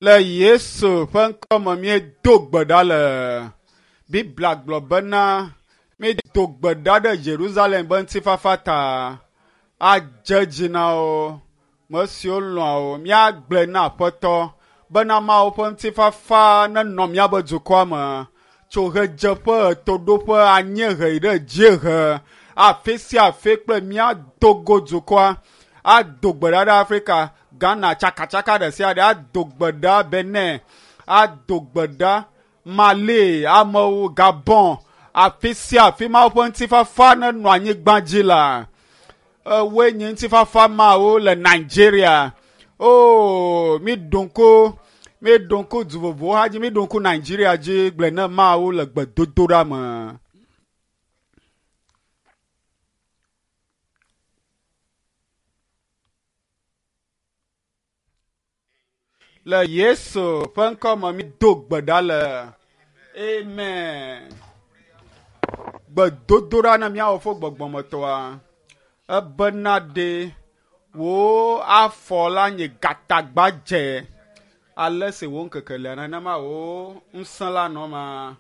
Le Yesu ƒe ŋkɔ me míedo gbe ɖa le. Biblia gblɔ bena míedo gbe ɖa ɖe Yerusalem be ŋutifafa ta. Adze dzi na wo, me siwo lɔ̃a wo. Míagblɔe na Aƒetɔ bena Mawu ƒe ŋutifafa nenɔ míaƒe dukɔa me. Tso ɣedzeƒe, ɣetoɖoƒe, anyiehe yi ɖe dziehe, afi sia afi kple míado go dukɔa ado gbe ɖa ɖe Afrika, Ghana, tsakatsaka ɖe sia ɖe ado gbe ɖa Benin, ado gbe ɖa Mali, amewo, Gabon, afi sia afi Mawu ƒe ŋutifafa nenɔ anyigba dzi la. Ewoe nye ŋutifafa mawo le Nigeria. Oh, mi ɖo ŋku, mi ɖo ŋku du vovovowo hã dzi, mi ɖo ŋku Nigeria dzi gblɔe ne Mawu le gbedodoɖa me. Le Yesu ƒe ŋkɔ me mi do gbe ɖa le. Amen. Gbedodoɖa na míawɔ fo gbɔgbɔmetɔa. Ebena ɖe wò afɔ la nye gatagbadze. Ale si wò ŋkeke lia nenema wò ŋusẽ la nɔ ma.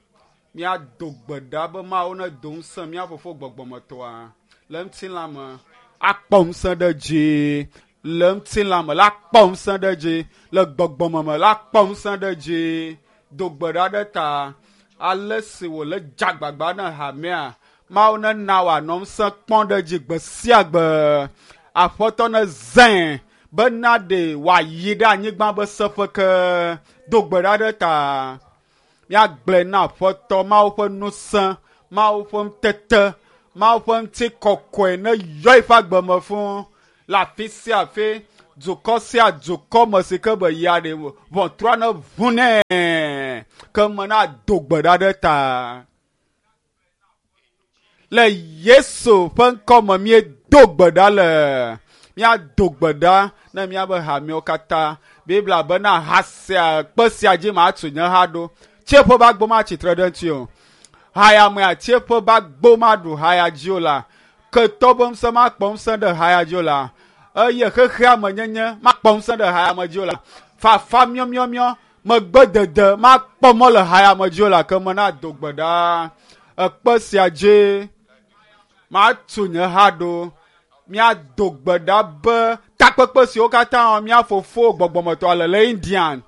Míado gbe ɖa be Mawu nedo ŋusẽ mía fofo gbɔgbɔmetɔa le ŋutilã me akpɔ ŋusẽ ɖe dzi le ŋutilã me la kpɔ ŋusẽ ɖe dzi le gbɔgbɔme me la kpɔ ŋusẽ ɖe dzi. Do gbe ɖa ɖe ta ale si wòle dze agbagba na hamea. Mawu nena wòanɔ ŋusẽ kpɔm ɖe dzi gbe sia gbe. Aƒetɔ nezãe bena ɖe wòayi ɖe anyigba be seƒe ke. Do gbe ɖa ɖe ta. Míagblɔe na Aƒetɔ Mawu ƒe ŋusẽ, Mawu ƒe ŋutete, Mawu ƒe ŋutikɔkɔe ne yɔ eƒe agbe me fũ le afi sia afi, dukɔ sia dukɔ me si ke be yia ɖe ʋɔtrua ne ʋu nɛ ke me na do gbe ɖa ɖe ta. Le Yesu ƒe ŋkɔ me míedo gbe ɖa le. Míado gbe ɖa ne míaƒe hamewo katã. Biblia bena ha sia kpe sia dzi matu nye ha ɖo. Tsieƒe ƒe agbo matsi tre ɖe ŋuti o. Haya mea tsieƒe ƒe agbo maɖu haya dzi o la. Ketɔ ƒe ŋusẽ makpɔ ŋusẽ ɖe haya dzi o la. Eye xexea me nyenye makpɔ ŋusẽ ɖe haya me dzi o la. Fafa miɔmiɔmiɔ megbedede makpɔ mɔ le haya me dzi o la ke me na do gbe ɖa. Ekpe sia dzi matu nye ha ɖo. Míado gbe ɖa be takpekpe siwo katã mía fofo gbɔgbɔmetɔa le le Indian,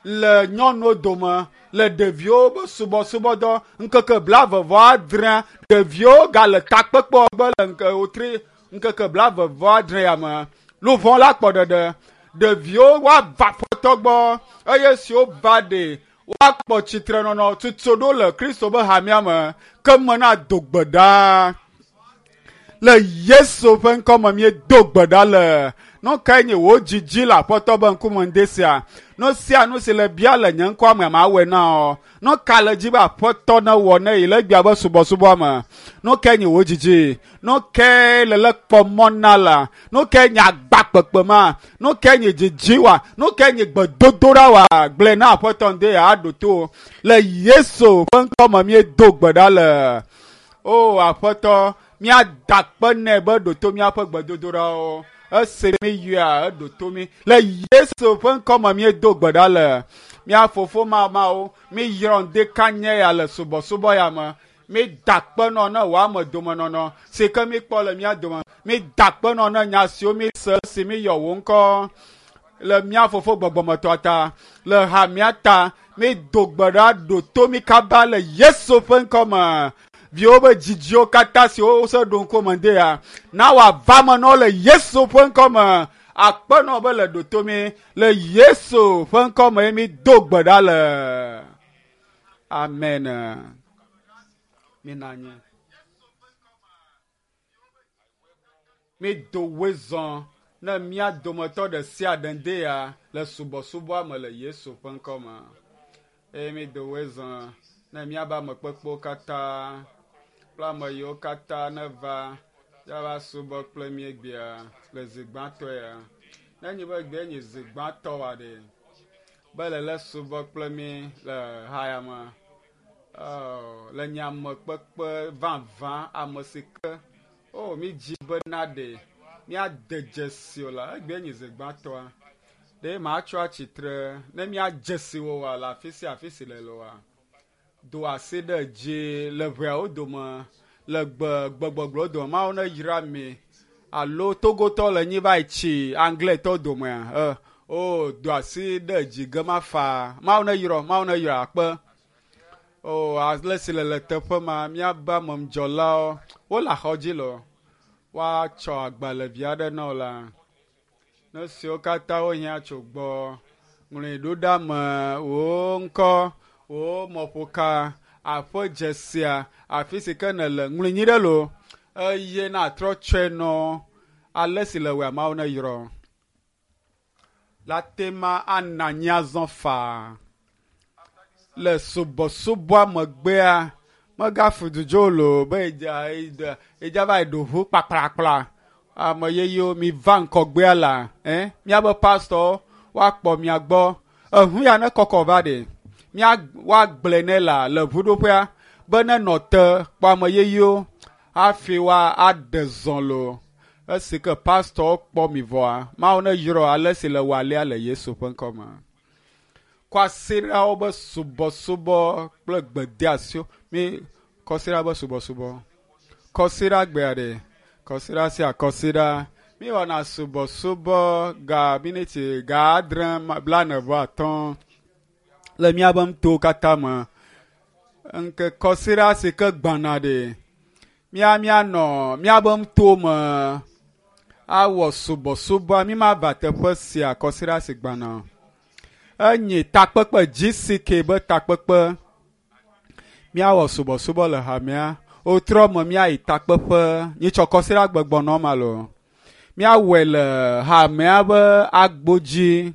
le nyɔnuwo dome, le ɖeviwo be subɔsubɔdɔ ŋkeke blaeve vɔ adre, ɖeviwo gale takpekpe gbe le ŋke wotri ŋkeke blaeve vɔ adre ya me. Luʋɔ la kpɔ ɖeɖe. Ɖeviwo woava Aƒetɔ gbɔ eye siwo va ɖe woakpɔ tsitrenɔnɔ tutu ɖo le Kristo be hamea me ke me na do gbe ɖa. Le Yesu ƒe ŋkɔ me míedo gbe ɖa le. Nu kae nye wò dzidzi le Aƒetɔ be ŋkume ŋde sia? Nu sia nu si le bia le nye ŋkɔa me mawɔe na wò. Nu ka le dzi be Aƒetɔ newɔ ne yi le egbea be subɔsubɔa me? Nu kae nye wò dzidzi? Nu kae le le kpɔ mɔ na la? Nu kae nye agba kpekpe ma? Nu kae nye dzidzi wa? Nu kae nye gbedodoɖa wa? Gblɔe na Aƒetɔ ŋde aɖo to. Le Yesu ƒe ŋkɔ me míedo gbe ɖa le. O Aƒetɔ, míada akpe nɛ be ɖo to míaƒe gbedodoɖawo. Esi míyɔa, eɖo to mí. Le Yesu ƒe ŋkɔ me míedo gbe ɖa le. Mía fofo mamawo, míyrɔ ŋdekanye ya le subɔsubɔ ya me. Mída akpe nɔ ne wò ame domenɔnɔ si ke míkpɔ le mía dome. Mída akpe nɔ ne nya siwo míse esi míyɔ wò ŋkɔ le mía fofo gbɔgbɔmetɔa ta, le hamea ta. Mído gbe ɖa ɖo to mí kaba le Yesu ƒe ŋkɔ me. Viwo be dzidziwo katã siwo wose ɖo ŋku me ŋde ya, na wòava me na wo le Yesu ƒe ŋkɔ me. Akpe nɔ be le ɖo to mí le Yesu ƒe ŋkɔ me ye mído gbe ɖa le. Amen. Mina anyi. Mído wezɔ ne mía dometɔ ɖe sia ɖe ŋde ya le subɔsubɔa me le Yesu ƒe ŋkɔ me. Eye mído wezɔ ne míabe amekpekpewo katã kple ame yiwo katã neva yava subɔ kple mí egbea le zi gbãtɔ ya. Ne nye be egbe nye zi gbãtɔ wa ɖe be le le subɔ kple mí le haya me. Oh, le nye amekpekpe vavã ame si ke oh mi dzi be na ɖe míade dzesi o la egbe nye zi gbãtɔa. Ɖe matsɔ atsitre ne míadze si wò oa le afi sia afi si le oa? Do asi ɖe dzi le ʋeawo dome, le gbe gbegbɔgblɔwo dome. Mawu ne yra mi. Alo Togotɔ le nyi va yi tsi Angletɔ domea? E, o, do asi ɖe dzi gema faa. Mawu ne yrɔ, Mawu ne yrɔ akpe. O, ale si le le teƒe ma, míabe amemdzɔlawo, wole axɔ dzi le o. Woatsɔ agbalẽvi aɖe na wò la. Nu siwo katã wohiã tso gbɔ, ŋlɔe ɖo ɖa me, wò ŋkɔ, wò mɔƒoka, aƒe dzesia, afi si ke nèle, ŋlɔe nyuie ɖe loo eye natrɔ tsɔe nɔ ale si le wòe Mawu neyrɔ. La te ma ana anyi azɔ faa. Le subɔsubɔa megbea, megafu dudzo loo be edza va yi ɖo ʋu kpakplakpla. Ame yeyewo mi va ŋkɔgbea la, eh, míabe pastɔwo woakpɔ mia gbɔ. Eʋu ya ne kɔkɔ va ɖe, mía woagblɔe nɛ la le ʋuɖoƒea be nenɔ te kpɔ ame yeyewo hafi woa aɖe zɔ loo. Esi ke pastɔwo kpɔ mi vɔa, Mawu ne yrɔ ale si le wɔ alea le Yesu ƒe ŋkɔ me. Kɔsiɖawo be subɔsubɔ kple gbedeasiwo. Mi kɔsiɖa be subɔsubɔ. Kɔsiɖa gbea ɖe. Kɔsiɖa sia kɔsiɖa. Mi wɔna subɔsubɔ ga miniti ga adre 45 le míabe nutowo katã me. Ŋke kɔsiɖa si ke gbɔna ɖe. Mía míanɔ míabe nutowo me awɔ subɔsubɔa. Mi mava teƒe sia kɔsiɖa si gbɔna. Enye takpekpe GCK be takpekpe. Míawɔ subɔsubɔ le hamea. Wotrɔ me míayi takpeƒe. Nyitsɔ kɔsiɖa gbe gbɔnɔ ma loo. Míawɔe le hamea be agbo dzi.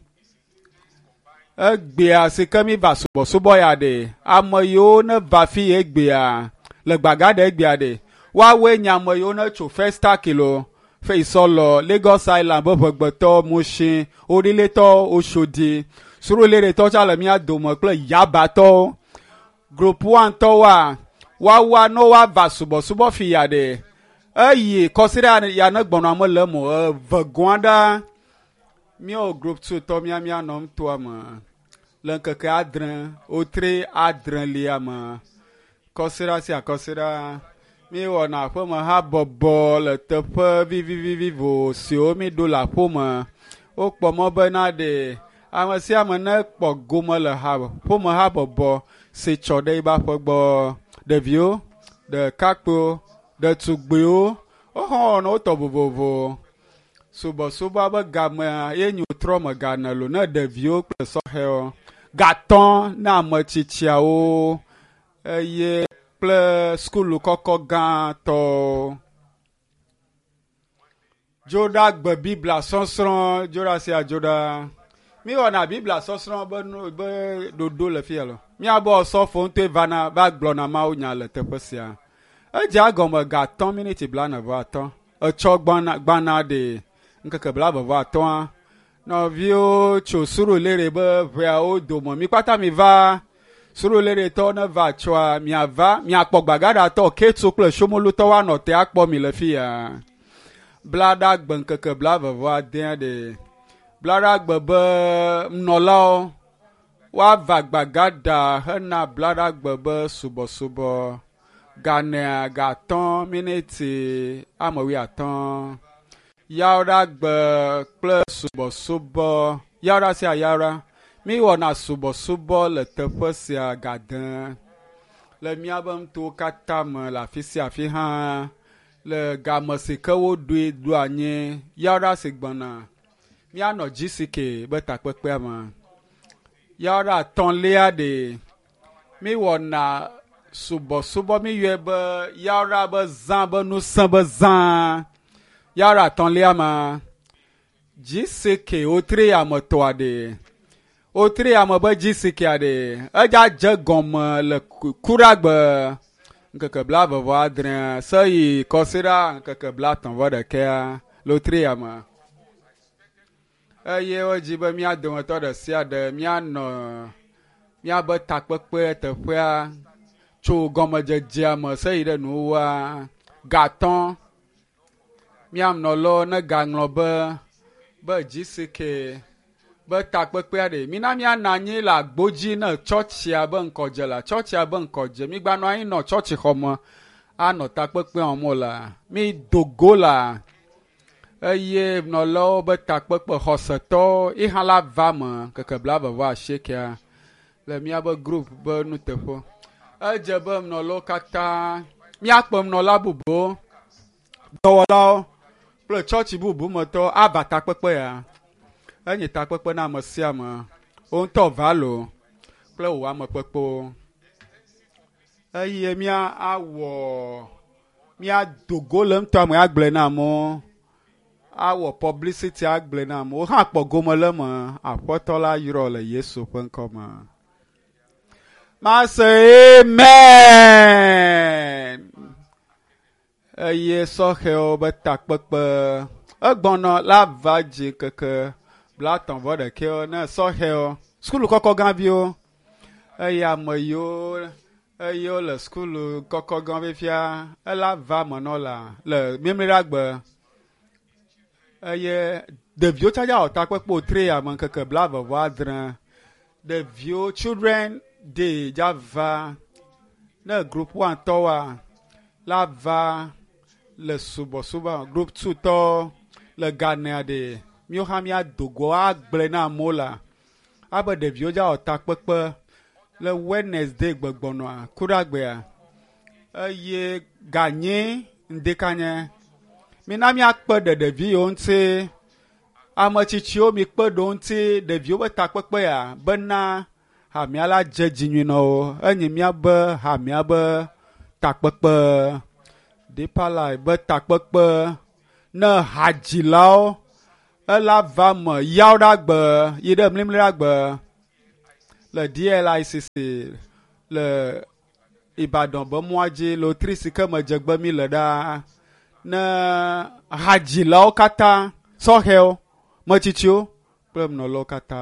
Egbea si ke mi va subɔsubɔ ya ɖe, ame yiwo ne va fi ye egbea le gbaga ɖe egbea ɖe, woawoe nye ame yiwo ne tso Festac loo, Feisɔlɔ, Lagos Island be ʋegbetɔ, Mushin, Orílẹ̀-tɔ, Oshodi, Surulere-tɔ tsa le mía dome kple Yabatɔwo. Group 1 tɔwoa, woawoa ne woava subɔsubɔ fi ya ɖe, eye kɔsiɖa ya ne gbɔnɔ ame le eme o, eve gɔ̃a ɖa, míawo group 2 tɔ mía míanɔ nutoa me le ŋkeke adre, wotre adrelia me. Kɔsiɖa sia kɔsiɖa, míewɔna aƒeme habɔbɔ le teƒe vivivivivo siwo míɖo le aƒeme. Wokpɔ mɔ bena ɖe ame sia ame ne kpɔ gome le ha ƒome habɔbɔ si tsɔ ɖe eƒe aƒe gbɔ. Ɖeviwo, ɖekakpuiwo, ɖetugbiwo, wohã wɔna wotɔ vovovo. Subɔsubɔa be gamea ye nyo trɔ me gane lo ne ɖeviwo kple sɔhɛwo. Gatɔ na ame tsitsiawo eye kple sukulu kɔkɔ gãtɔwo. Dzoɖa gbe Biblia sɔsrɔ̃, dzoɖa sia dzoɖa. Míwɔna Biblia sɔsrɔ̃ be nu be ɖoɖo le fia lo. Míabe osɔfo ŋutɔe vana va gblɔna Mawu nya le teƒe sia. Edze egɔme ga atɔ̃ miniti 45. Etsɔ gbana gbana ɖe ŋkeke 45. Nɔviwo tso Surulere be ʋeawo dome. Mi kpata mi va Suruleretɔwo ne va tsɔa miava miakpɔ Gbagaɖatɔ, Ketso kple Somolutɔ woanɔ te akpɔ mi le fia. Blaɖagbe ŋkeke 29 ɖe. Blaɖagbe be nɔlawo woava Gbagaɖa hena Blaɖagbe be subɔsubɔ. Ganea ga atɔ̃ miniti ame wuiatɔ̃. Yawoɖagbe kple subɔsubɔ. Yawoɖa sia yawoɖa. Míwɔna subɔsubɔ le teƒe sia gade le míabe nutowo katã me le afi sia afi hã le game si ke woɖoe ɖo anyi yawoɖa si gbɔna míanɔ GCK be takpekpea me. Yawoɖa atɔ̃lia ɖe míwɔna subɔsubɔ míyɔe be yawoɖa be zã be ŋusẽ be zã. Yawoɖa atɔ̃lia ma GCK wotri ame tɔa ɖe. Wotri ame be GCK ɖe. Edza dze gɔme le kuɖagbe ŋkeke 26 seyi kɔsiɖa ŋkeke 31 le wotri ame. Eye wodzi be mía dometɔ ɖe sia ɖe míanɔ míabe takpekpe teƒea tso gɔmedzedzea me seyi ɖe nuwuwua gatɔ̃. Míanɔlawo ne gaŋlɔ be GCK Be takpekpea ɖe, mina míanɔ anyi le agbo dzi ne tsɔtsia be ŋkɔdze la, tsɔtsia be ŋkɔdze. Mígbanɔ anyi nɔ tsɔtsixɔme anɔ takpekpea wɔm o la. Mi do go la eye nɔlawo be takpekpe xɔsetɔwo yi hã la va me keke 28 le míabe group be nuteƒe. Edze be nɔlawo katã míakpe nɔla bubuwo, dɔwɔlawo kple tsɔtsi bubu me tɔwo ava takpekpe ya. Enye takpekpe na ame sia ame. Wo ŋutɔ va loo kple wò ame kpekpewo. Eye mía awɔ míado go le ŋutɔ me agblɔe na amewo. Awɔ publicity agblɔe na amewo. Wo hã kpɔ gome le eme. Aƒetɔ la yrɔ le Yesu ƒe ŋkɔ me. Mase amen. Eye sɔhɛwo be takpekpe egbɔnɔ la va dzi keke 31 ne sɔhɛwo sukulu kɔkɔ gãviwo eye ame yiwo eye wole sukulu kɔkɔ gã fifia ela va me nɔ la le mímliɖagbe eye ɖeviwo tsã dza wɔ takpekpe wòtre ya me ŋkeke 26 ɖeviwo children day dza va ne group 1 tɔwoa la va le subɔsubɔ group 2 tɔ le Ghanea ɖe míwo hã míado go agblɔe na amewo la abe ɖeviwo dza wɔ takpekpe le Wednesday gbegbɔnɔa kuɖagbea eye ganye ŋdekanye mina míakpe ɖe ɖevi yiwo ŋuti ame tsitsiwo mikpe ɖe wo ŋuti ɖeviwo be takpekpe ya bena hamea la dze dzi nyui na wo enye míabe hamea be takpekpe Deeper Life be takpekpe ne hadzilawo ela va me yawo ɖe agbe yi ɖe mlimli ɖe agbe le DLICC le Ibadan be mɔa dzi le wotri si ke me dzegbe mi le ɖaa ne hadzilawo katã sɔhɛwo metsitsiwo kple nɔlawo katã.